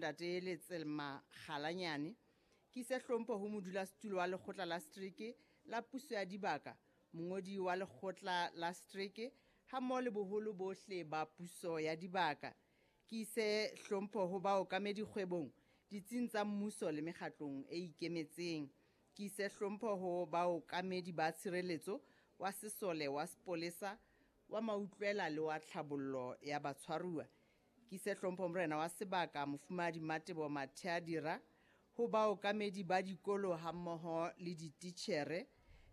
Ntate Letselma Kgalanyane. Ke ise hlompho ho modulasetulo wa lekgotla la setereke la puso ya dibaka, mongodi wa lekgotla la setereke hammoho le boholo bohle ba puso ya dibaka. Ke ise hlompho ho baokamedi kgwebong, ditsing tsa mmuso le mekgatlong e ikemetseng. Ke ise hlompho ho baokamedi ba tshireletso, wa sesole, wa sepolesa, wa mautlwela le wa tlhabollo ya batshwaruwa. Ke ise hlompho morena wa sebaka Mofumahadi Matebo Matheadira, ho baokamedi ba dikolo hammoho le dititjhere,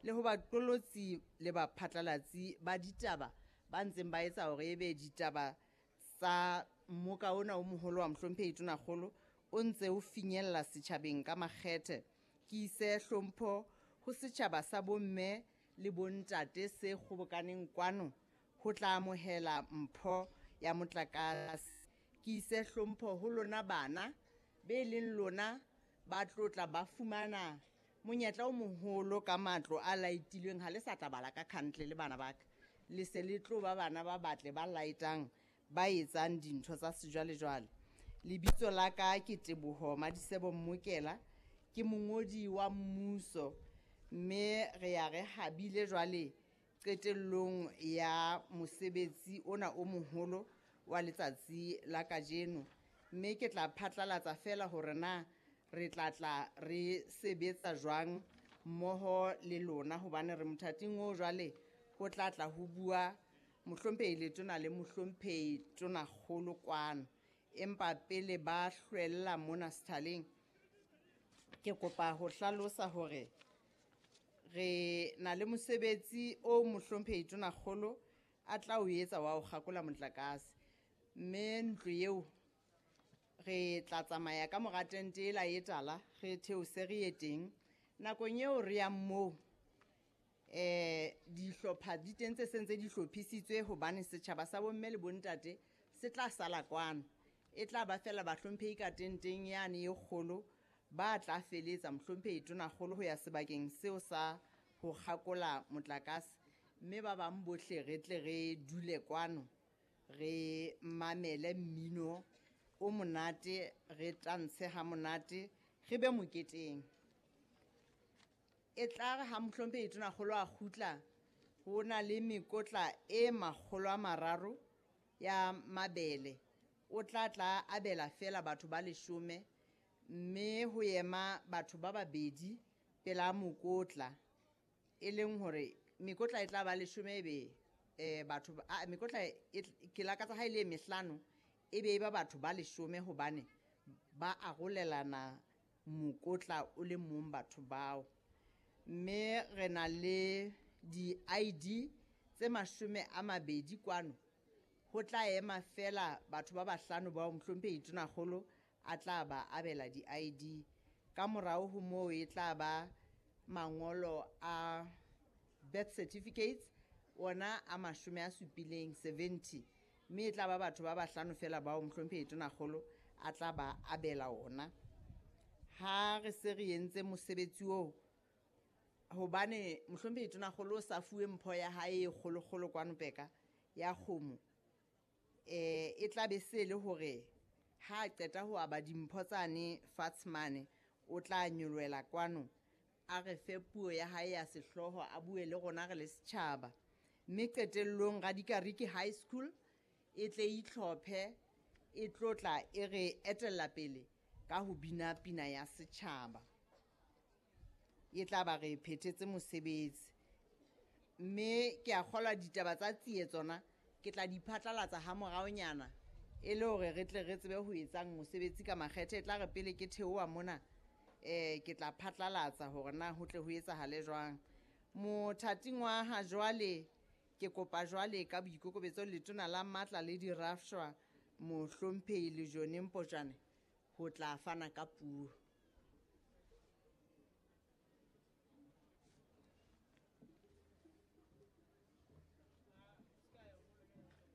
le ho baqolotsi le baphatlalatsi ba ditaba ba ntseng ba etsa hore ebe ditaba tsa mmoka ona o moholo wa Mohlomphehi Tonakgolo o ntse o finyella setjhabeng ka makgethe. Ke ise hlompho ho setjhaba sa bomme le bontate se kgobokaneng kwano ho tla amohela mpho ya motlakase. Ke ise hlompho ho lona bana be leng lona ba tlotla ba fumana monyetla o moholo ka matlo a laitilweng. Ha le sa tla bala ka khantle le bana ba ka, le se le tlo ba bana ba batle ba laetang, ba etsang dintho tsa sejwalejwale. Lebitso la ka ke Teboho Madisebo Mmokela, ke mongodi wa mmuso, mme re ya re habile jwale qetellong ya mosebetsi ona o moholo wa letsatsi la kajeno. Mme ke tla phatlalatsa feela hore na re tla tla re sebetsa jwang mmoho le lona, hobane re mothating oo jwale ho tla tla ho bua Mohlomphehi Letona le Mohlomphehi Tonakgolo kwano. Empa pele ba hlwella mona sethaleng, ke kopa ho hlalosa hore re na le mosebetsi o Mohlomphehi Tonakgolo a tla o etsa wa ho kgakola motlakase. Mme ntlo eo re tla tsamaya ka mora tente ela e tala, re theose re ye teng. Nakong eo re yang moo, dihlopha di teng tse sentse di hlophisitswe, hobane setjhaba sa bomme le bontate se tla sala kwano. E tla ba feela bahlomphehi ka tenteng yane e kgolo ba tla feletsa Mohlomphehi Tonakgolo ho ya sebakeng seo sa ho kgakola motlakase, mme ba bang bohle re tle re dule kwano re mamele mmino o monate, re tantshe ha monate, re be moketeng. E tla re ha Mohlomphehi Tonakgolo a kgutla, ho na le mekotla e 300 ya mabele. O tla tla abela feela batho ba 10, mme ho ema batho ba babedi pela mokotla, e leng hore mekotla e tla ba 10 ebe batho mekotla ke lakatsa ha e le mehlano e be e ba batho ba 10, hobane ba arolelana mokotla o le mong batho bao. Mme re na le di-ID tse 20 kwano, ho tla ema feela batho ba bahlano bao Mohlomphehi Tonakgolo a tla ba abela di-ID. Ka morao ho moo e tla ba mangolo a birth certificates, ona a 70, 70, mme e tla ba batho ba bahlano feela bao Mohlomphehi Tonakgolo a tla ba abela ona. Ha re se re entse mosebetsi oo, hobane Mohlomphehi Tonakgolo o sa fuwe mpho ya hae e kgolokgolo kwano Peka ya kgomo, e tla be se le hore ha a qeta ho aba dimpho tsane fatshe mane, o tla nyolohela kwano a re fe puo ya hae ya sehlooho, a bue le rona re le setjhaba. Mme qetellong Radikariki High School e tle itlhophe, e tlotla e re etella pele ka ho bina pina ya setjhaba. E tla ba re phethetse mosebetsi. Mme ke a kgolwa ditaba tsa tsie tsona ke tla di phatlalatsa ha moraonyana, e le hore re tle re tsebe ho etsang mosebetsi ka makgethe. E tla re pele ke theoha mona, ke tla phatlalatsa hore na ho tle ho etsahale jwang. Mothating wa ha jwale, ke kopa jwale ka boikokobetso Letona la Matla le Dirafshwa Mohlomphehi Lejone Mpotjane ho tla fana ka puo.